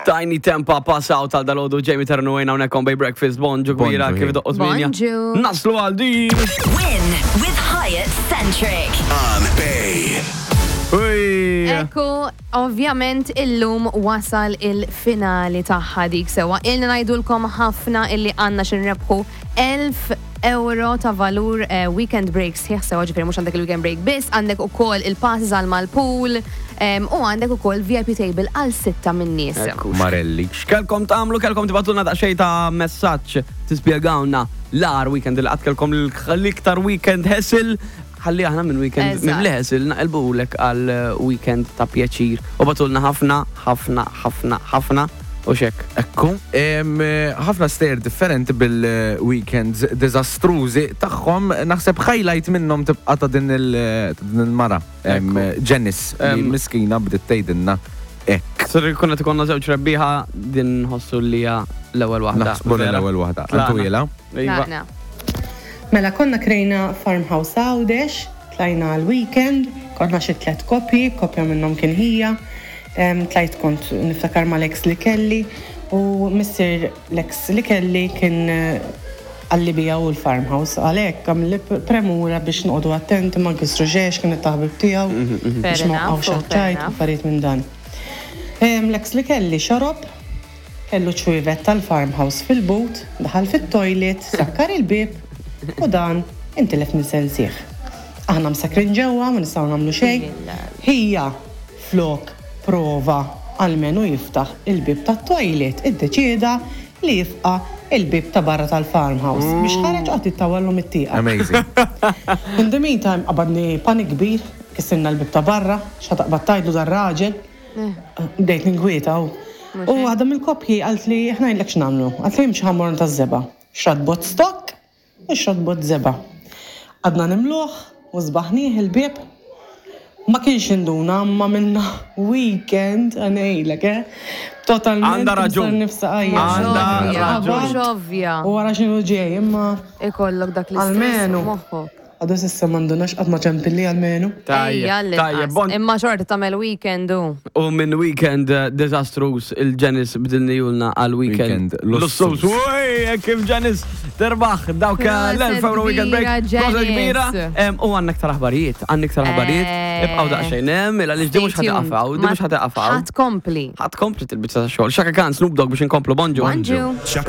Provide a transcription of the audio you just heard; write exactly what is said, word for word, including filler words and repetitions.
Tinie Tempah, "Pass Out" għal dalgħodu. Jamie Ternu għajna hawnhekk on Bay Breakfast. Bonġu kbira. Bonġu, Kif doqqu tmienja. Bonġu. Naslu għal din. Win with Hyatt Centric. On Bay. Uj. Ekku, ovvjament illum wasal il-finali tagħha dik sewa. Ilna ngħidulkom ħafna illi għandna x'inrebħu elf euro ta' valur eh, weekend breaks sħiħ sewa, ġifieri mhux għandek il-weekend break biss, għandek ukoll il-passes għal mal-pool em, u għandek ukoll V I P table għal sitta minn nies. Ekku. Marelli. X'kellkom tagħmlu? Kellkom tibagħtulna daqsxejn ta' messaġġ tispjegawna l-agħar weekend li qatt kellkom, l-iktar weekend hassle, ħalli aħna minn weekend Eżatt. minn li hassle naqilbulek għal weekend ta' pjaċir. U bagħtulna ħafna, ħafna, ħafna, ħafna u xek. Ekku, em, ħafna stejjer differenti bil-weekends dizastrużi tagħhom, naħseb highlight minnhom tibqa' ta' din il- ta' din il-mara. Em, Janice, li Em, miskina bdiet tgħidilna hekk. Sir kunna tikonna żewġ rebbieħa, din ħossu li hija l-ewwel waħda. Naħsbu li Vera. l-ewwel waħda. Tlaqna. Antu jela? Iva. Tlaqna. Mela konna krejna farmhouse Għawdex, tlajna għal-weekend, konna xi tliet koppji, koppja minnhom kien ħija, em, tlajt kont niftakar mal-ex li kelli u missier l-ex li kelli kien eh, għalli bija u l-farmhouse, għalhekk għamilli premura biex noqogħdu attenti ma nkissru xejn, kien it-taħbib tiegħu biex Fair ma enough, waqgħux fair għaċ-ċajt, enough. affarijiet minn dan. Em, L-ex li kelli xorob, kellu ċwievet tal-farmhouse fil-but, daħal fit-toilet, sakkar il-bib u dan intilef minn sensih. Aħna msakrin ġewwa, ma nistgħu nagħmlu xejn. Ħija flok prova almenu jiftaħ il-bib tat-toilet, iddeċieda li jifqa il-bib ta' barra tal-farmhouse biex ħareġ qatt jittawallu mit-tieqa. Amazing. In the meantime, qabadni panik kbir, kissirna l-bib ta' barra, x'ħa taqbad tgħidlu dar-raġel. Bdejt ninkwieta u. U għadha mill-koppji għalt li ħna jillek x'nagħmlu. Għalt li jimxi ħammorn ta' żebgħa. Xtrat bott stock u xtrat bott żebgħa. Għadna nimluħ u żbaħnieh il-bib. Ma kienx induna, ma minna weekend għanejlek, eh? Totalment. Għandha raġun. Nifsa għajja. Għandha Ovvja, raġun. mhux ovvja. U wara x'inhu ġej, imma Ikollok dak l-istress Almenu. moħħok. Għadu s'issa m'għandunax qatt ma ċempilli almenu. Ejja, Tajjeb, tajjeb, l-inqas. bon. Imma xorta tagħmel weekend u. U minn weekend eh, disastrous il-Janice bdilni julna għal weekend Weekend lussuż. lussuż. Uj, kif Janice terbaħ dawk Proset l-elf euro weekend break. kbira, Proset kbira. Janice. Em, U għandna iktar aħbarijiet, għandna iktar aħbarijiet. Eh, Ibqgħu daqsxejn hemm, illa li di mhux Stay tuned. ħa tieqaf hawn, di Ma mhux ħa tieqaf hawn. Ħa tkompli. Ħa tkompli til-biċċa ta' xogħol. Chaka Khan, Snoop Dogg biex inkomplu. Bonġu. Bonġu. Chaka